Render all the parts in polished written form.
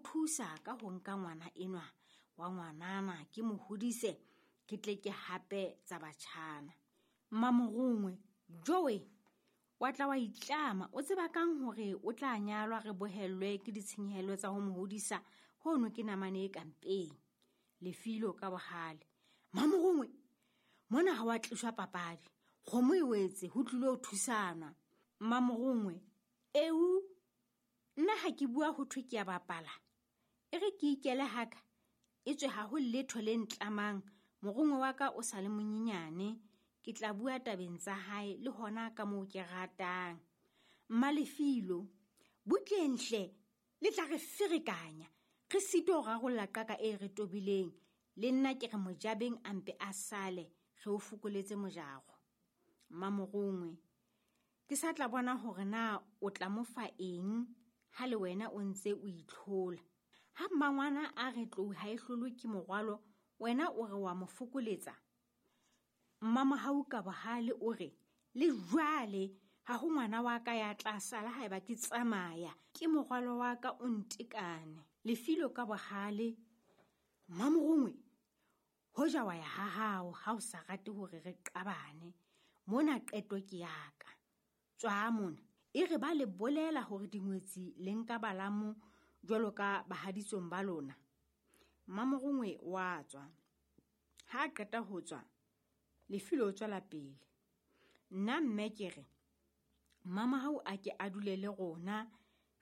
thusa ka ho nka ngwana enwa wa ngwanana ke mo hodise, ke tle ke hape tsa batjhana. Mmamorongwe, Jowe, wa tla wa itlama, o tseba kang hore o tla nyalwa re bohellwe ke ditshenyehelo tsa ho mo hodisa, hono ke namane e kampeng. Lefilo ka bohale. Mmamorongwe, mona ha wa tliswa papadi, kgomo e wetse, ho tlilo ho thusanwa. Mmamorongwe, eu, nna ha ke bua ho thwe ke a bapala, e re ke ikele haka, e tswe ha ho letho le ntlamang, morongwe wa ka o sa le monyenyane, ke tla bua tabeng tsa hae le hona ka moo ke ratang. Mmalefilo, butleng hle, le tla re ferekanya, re sitwe ho rarolla qaka e re tobileng, le nna ke re mojabeng a mpe a sale, re o fokoletse mojaro. Mmamorongwe, ke sa tla bona hore na o tla mo fa eng ha le wena o ntse o itlhola. Ha mmangwana a re tlou ha e hlolwe ke morwalo, wena o re wa mo fokoletsa. Mmamohau ka bohale o re, le jwale ha ho ngwana wa ka ya tla sala haeba ke tsamaya, ke morwalo wa ka o ntekane. Lefilo ka bohale, Mmamorongwe, hoja wa ya ha hao ha o sa rate hore re qabane, mona qeto ke ya ka. Tswa mona, e re ba le bolela hore dingwetsi le nka balamo jwalo ka bahaditsong ba lona. Mmamorongwe wa tswa. Ha a qeta ho tswa, Lefilo o tswela pele. Nna mme ke re, Mmamahau a ke a dule le rona,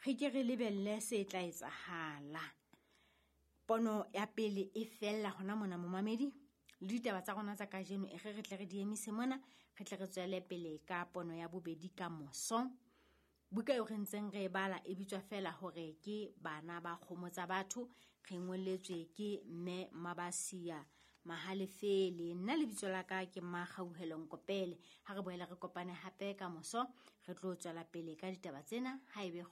re ke re lebelle se tla etsahala. Pono ya pele e fella hona mona momamedi, le ditaba tsa rona tsa kajeno e re re tle re di emise mona, re tle re tswele pele ka pono ya bobedi ka moso. Buka eo re ntseng re e bala e bitswa feela hore ke Bana ba Kgomo tsa Batho, re ngolletswe ke Mme Mabasia Mahalefele. Nna lebitso la ka ke Mmakgauhelo Nkopele. Ha re boela re kopane hape ka moso, re tlo tswela pele ka ditaba tsena ha ebe